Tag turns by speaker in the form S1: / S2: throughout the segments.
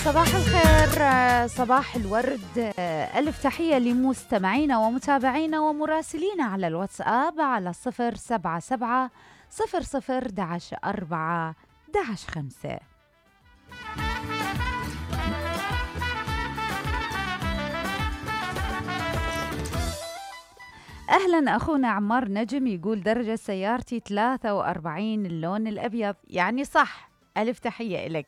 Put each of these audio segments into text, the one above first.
S1: صباح الخير، صباح الورد، ألف تحية لمستمعينا ومتابعينا ومراسلينا على الواتساب على 077 00 11 4 11 5. أهلا أخونا عمار نجم، يقول درجة سيارتي 43 اللون الأبيض، يعني صح. ألف تحية إلك.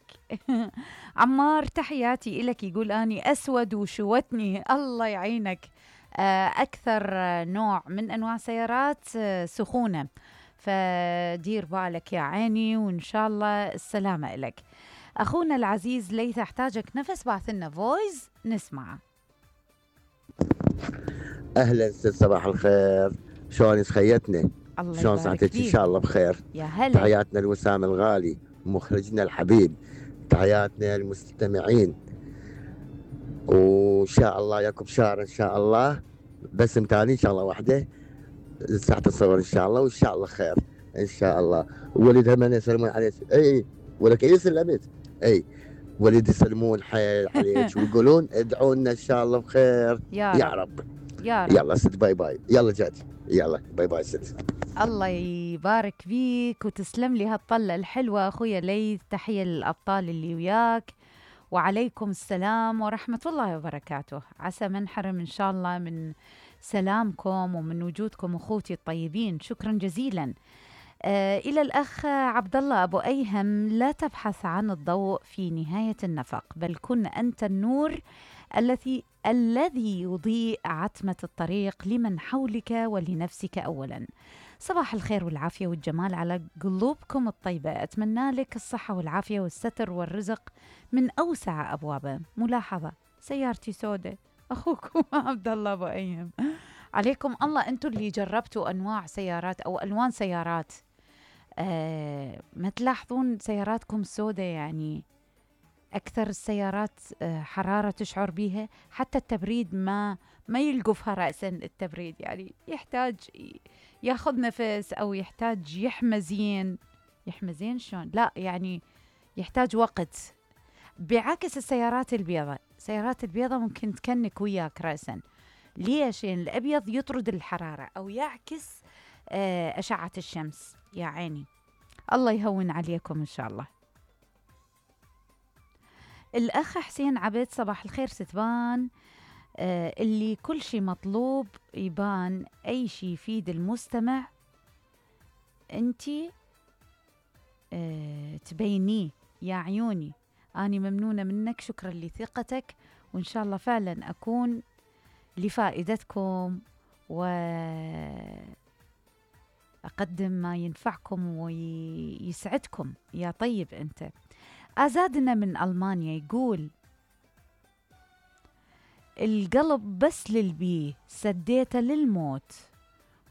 S1: عمار تحياتي إلك. يقول أني أسود وشوتني، الله يعينك. أكثر نوع من أنواع سيارات سخونة، فدير بالك يا عيني، وإن شاء الله السلامة إلك. أخونا العزيز ليث أحتاجك نفس، بعث لنا فويس نسمعه.
S2: اهلا ست، صباح الخير، شلون سخيتنا؟
S1: الله
S2: شلون
S1: يبارك
S2: صحتك؟ ان
S1: فيك.
S2: شاء الله بخير.
S1: يا هلا.
S2: تحياتنا لوسام الغالي مخرجنا الحبيب، تحياتنا للمستمعين، وان شاء الله ياكم شهر ان شاء الله، بس متاني ان شاء الله وحده ساعة الصور ان شاء الله، وان شاء الله خير ان شاء الله. ولدها من يسلمون عليك، اي ولك اي سلمت، اي ولد يسلمون حيل عليك ويقولون ادعوا لنا ان شاء الله بخير يا رب.
S1: يا رب.
S2: يلا ست، باي باي. يلا جاتي، يلا باي باي ست.
S1: الله يبارك فيك وتسلم لي هالطلة الحلوة أخويا ليث. تحية للأبطال اللي وياك، وعليكم السلام ورحمة الله وبركاته. عسى ما نحرم إن شاء الله من سلامكم ومن وجودكم أخوتي الطيبين. شكرا جزيلا. إلى الأخ عبد الله أبو أيهم، لا تبحث عن الضوء في نهاية النفق، بل كن أنت النور الذي يضيء عتمة الطريق لمن حولك ولنفسك أولا. صباح الخير والعافية والجمال على قلوبكم الطيبة. أتمنى لك الصحة والعافية والستر والرزق من أوسع أبوابه. ملاحظة، سيارتي سوداء. أخوكم عبد الله أبو أيهم. عليكم الله، أنتم اللي جربتوا أنواع سيارات أو ألوان سيارات، ما تلاحظون سياراتكم سوداء؟ يعني أكثر السيارات حرارة تشعر بيها، حتى التبريد ما يلقفها رأسا. التبريد يعني يحتاج ياخذ نفس، أو يحتاج يحمزين شلون؟ لا يعني يحتاج وقت، بعكس السيارات البيضاء. السيارات البيضاء ممكن تكنك وياك رأسا. ليش؟ يعني الأبيض يطرد الحرارة أو يعكس أشعة الشمس. يا عيني، الله يهون عليكم إن شاء الله. الأخ حسين عبد، صباح الخير ستبان، اللي كل شيء مطلوب يبان، أي شيء يفيد المستمع أنتي تبينيه يا عيوني. أنا ممنونة منك، شكرا لثقتك، وإن شاء الله فعلا أكون لفائدتكم وأقدم ما ينفعكم ويسعدكم يا طيب أنت. أزادنا من ألمانيا يقول القلب بس للبيه سديته للموت،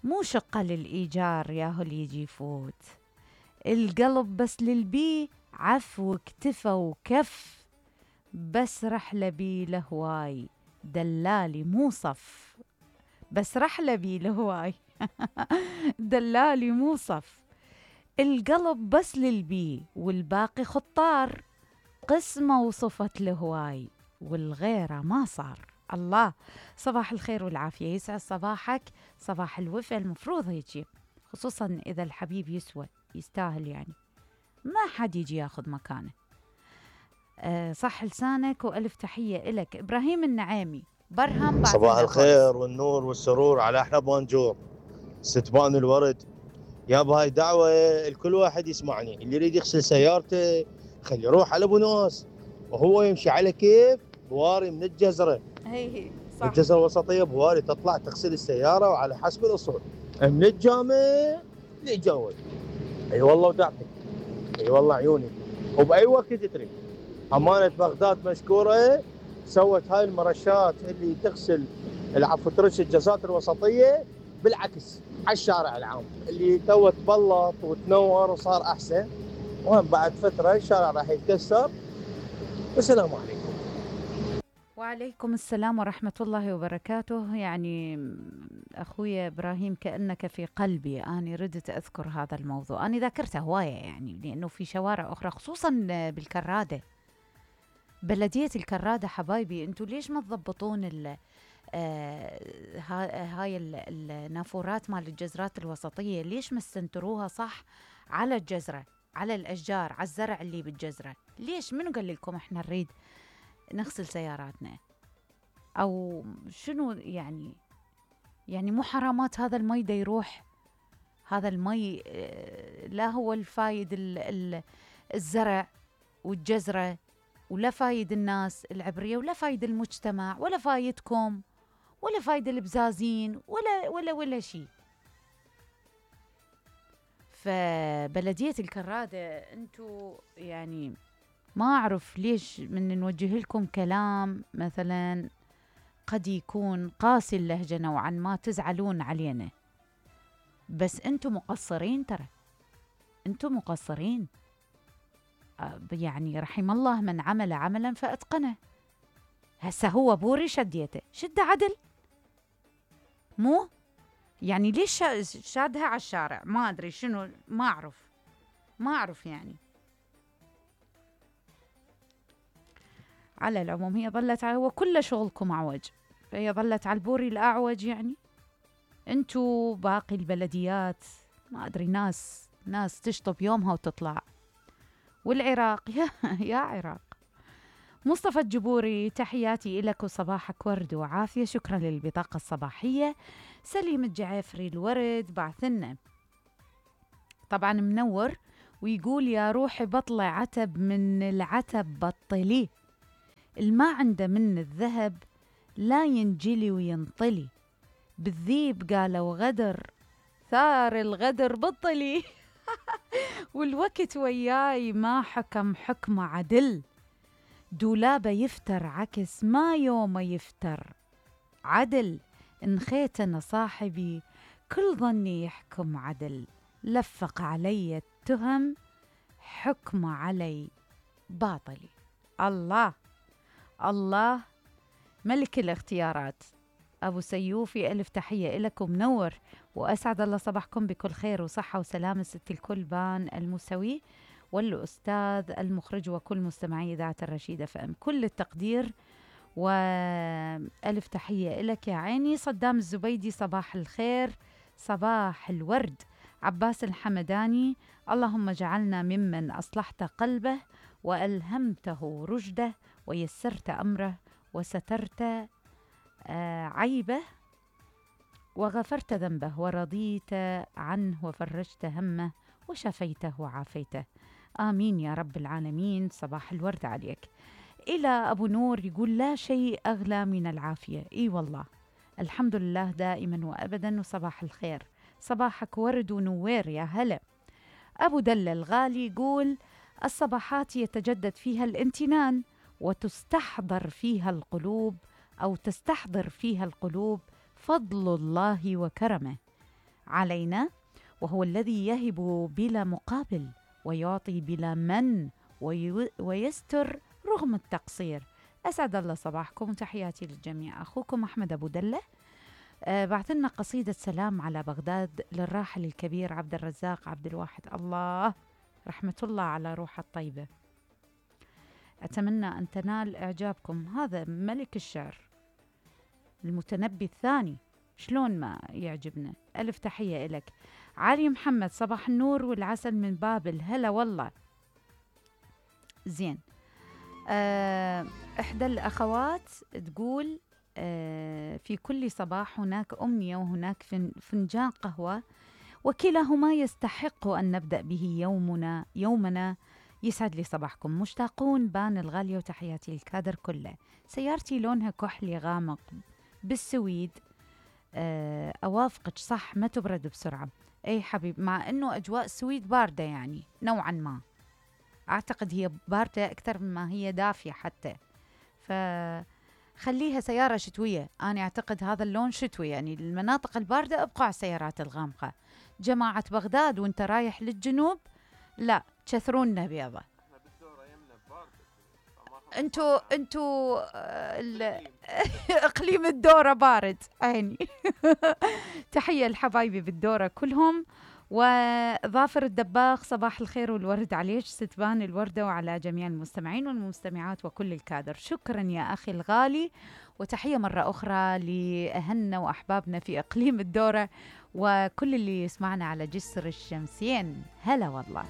S1: مو شقة للإيجار ياهو اللي يجي يفوت. القلب بس للبيه عفو اكتفى وكف، بس رحلة بيه لهواي دلالي مو صف. بس رحلة بيه لهواي دلالي مو صف. القلب بس للبي والباقي خطار، قسمة وصفت لهواي والغيرة ما صار. الله، صباح الخير والعافية، يسعد صباحك، صباح الوفا. المفروض هيجي، خصوصا إذا الحبيب يسوى يستاهل، يعني ما حد يجي ياخذ مكانه. صح لسانك، وألف تحية إلك. إبراهيم النعيمي برهم،
S3: صباح الخير والنور والسرور على أحلى بونجور ستبان الورد. يا بهاي دعوة الكل واحد يسمعني، اللي يريد يغسل سيارته خلي يروح على ابو ناس وهو يمشي على كيف بواري من الجزرة.
S1: هي صح.
S3: الجزرة الوسطية بواري تطلع تغسل السيارة، وعلى حسب الأصول من الجامع للجوال. اي والله ودعتك، اي والله عيوني، وبأي وقت تريد. أمانة بغداد مشكورة، سوت هاي المرشات اللي تغسل العفو ترش الجزات الوسطية بالعكس على الشارع العام، اللي تو تبلط وتنور وصار أحسن. وهم بعد فترة الشارع راح يتكسر. والسلام عليكم.
S1: وعليكم السلام ورحمة الله وبركاته. يعني أخوي إبراهيم كأنك في قلبي، أنا ردت أذكر هذا الموضوع، أنا ذاكرته هواية يعني، لأنه في شوارع أخرى خصوصا بالكرادة بلدية الكرادة حبايبي، انتوا ليش ما تضبطون هاي النافورات مال الجزرات الوسطية؟ ليش ما استنتروها صح على الجزرة، على الأشجار، على الزرع اللي بالجزرة؟ ليش؟ منو قال لكم احنا نريد نغسل سياراتنا؟ أو شنو يعني؟ يعني مو حرامات هذا المي دا يروح؟ هذا المي لا هو الفايد الزرع والجزرة، ولا فايد الناس العبرية، ولا فايد المجتمع، ولا فايدكم، ولا فايد البزازين، ولا شيء. فبلدية الكرادة انتو يعني ما أعرف ليش من نوجه لكم كلام مثلا قد يكون قاسي اللهجة نوعا ما، تزعلون علينا، بس انتو مقصرين، ترى انتو مقصرين. يعني رحم الله من عمل عملا فأتقنه. هسه هو بوري شديته، شده عدل، مو يعني ليش شادها على الشارع؟ ما أدري شنو، ما أعرف يعني. على العموم هي ظلت وكل شغلكم أعوج، فهي ظلت على البوري الأعوج. يعني انتو باقي البلديات ما أدري، ناس تشطب يومها وتطلع. والعراق يا عراق. مصطفى الجبوري، تحياتي إلك وصباحك ورد وعافية. شكرا للبطاقة الصباحية. سليم الجعفري الورد بعثنا طبعا منور، ويقول يا روحي بطلع عتب من العتب بطليه، الما عنده من الذهب لا ينجلي وينطلي، بالذيب قالوا غدر ثار الغدر بطلي والوقت وياي ما حكم حكم عدل، دولابه يفتر عكس ما يوم يفتر عدل، انخيت انا صاحبي كل ظني يحكم عدل، لفق علي التهم حكم علي باطلي. الله الله، ملك الاختيارات. أبو سيوفي ألف تحية لكم، منور وأسعد الله صباحكم بكل خير وصحة وسلامة. ست الكل بان المسوي والأستاذ المخرج وكل مستمعي إذاعة الرشيدة فأم، كل التقدير وألف تحية لك يا عيني. صدام الزبيدي صباح الخير صباح الورد. عباس الحمداني، اللهم جعلنا ممن أصلحت قلبه وألهمته رشده ويسرت أمره وسترت عيبه وغفرت ذنبه ورضيت عنه وفرجت همه وشفيته وعافيته، آمين يا رب العالمين. صباح الورد عليك. إلى أبو نور يقول لا شيء أغلى من العافية. إي والله، الحمد لله دائما وأبدا، وصباح الخير. صباحك ورد ونوير يا هلا. أبو دلة الغالي يقول الصباحات يتجدد فيها الامتنان وتستحضر فيها القلوب، أو تستحضر فيها القلوب فضل الله وكرمه علينا، وهو الذي يهب بلا مقابل ويعطي بلا من ويستر رغم التقصير. أسعد الله صباحكم، تحياتي للجميع. أخوكم أحمد أبو دلة بعث لنا قصيدة سلام على بغداد للراحل الكبير عبد الرزاق عبد الواحد، الله رحمة الله على روح الطيبة. أتمنى أن تنال إعجابكم. هذا ملك الشعر، المتنبي الثاني، شلون ما يعجبنا. ألف تحية إلك. علي محمد، صباح النور والعسل من بابل، هلا والله. زين. إحدى الأخوات تقول في كل صباح هناك أمنية وهناك فنجان قهوة، وكلاهما يستحق أن نبدأ به يومنا. يسعد لي صباحكم. مشتاقون بان الغالية وتحياتي للكادر كله. سيارتي لونها كحلي غامق بالسويد. أوافقك صح، ما تبرد بسرعة. أي حبيب، مع أنه أجواء السويد باردة يعني نوعا ما، أعتقد هي باردة أكثر مما هي دافية حتى، فخليها سيارة شتوية. أنا أعتقد هذا اللون شتوي، يعني المناطق الباردة أبقى على السيارات الغامقة. جماعة بغداد وانت رايح للجنوب لا كثرونا بيضة. انتو اقليم الدورة بارد عيني. تحية لحبايبي بالدورة كلهم، وظافر الدباغ صباح الخير والورد عليك ستبان الوردة وعلى جميع المستمعين والمستمعات وكل الكادر. شكرا يا أخي الغالي، وتحية مرة أخرى لأهلنا وأحبابنا في إقليم الدورة وكل اللي يسمعنا على جسر الشمسين. هلا والله.